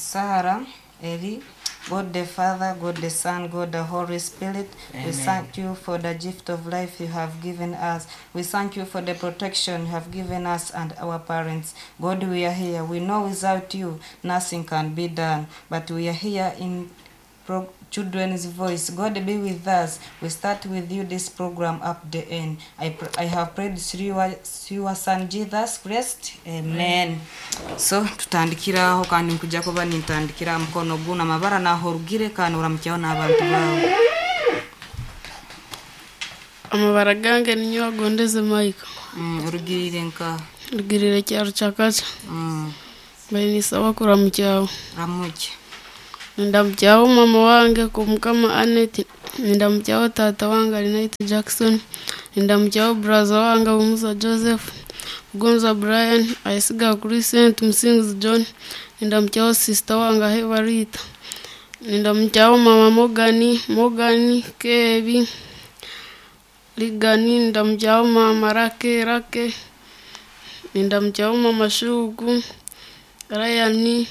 Sarah, Eli, God the Father, God the Son, God the Holy Spirit, we Amen. thank you for the gift of life you have given us. We thank you for the protection you have given us and our parents. God, we are here. We know without you nothing can be done, but we are here in children's voice. God be with us. We start with you this program up the end. I have prayed through your son Jesus Christ. Amen. So tutandikiraho kandi nkujja kuba nintandikira mukono guna amabara naho orugire kandi oramukyaho n'abantu bawe. Amabara gange ninyo agondeze Michael. Orugirire nka Rugirire kyaro kyakaca. Bainisaba kuramukyaho. Ramukye. Nindamukyaho mama wange kumukama Annette. Nindamukyaho tata wange Alinaite Jackson. Nindamukyaho braza wange Bumuza Joseph. Gonza Brian, Ayesiga Crescent, Musinguzi John. Nindamukyaho sister wange Aheba Rita. Nindamukyaho mama Morgan, Morgan, Kebi, Ligani, ndamukyaho mama Rake, Rake. Nindamukyaho mama Shugu, Ryan,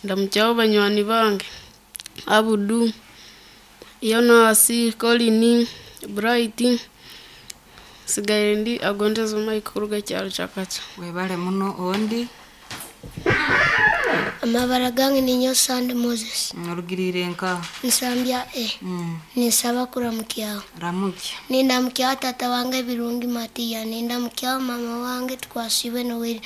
ndamukyaho banywani bange Abudu, Yonasi, Colin, Bright, sigaire ndi agondeza Mike kuruga kyaro kyakaca. Webale muno ondi. Amabara gange ninyo Sande Moses. Orugirire nka Nsambya E. Ninsaba kuramukyaho. Ramukye. Nindamukyaho tata wange Birungi Matiya. Nindamukyaho mama wange Twasibe Noel.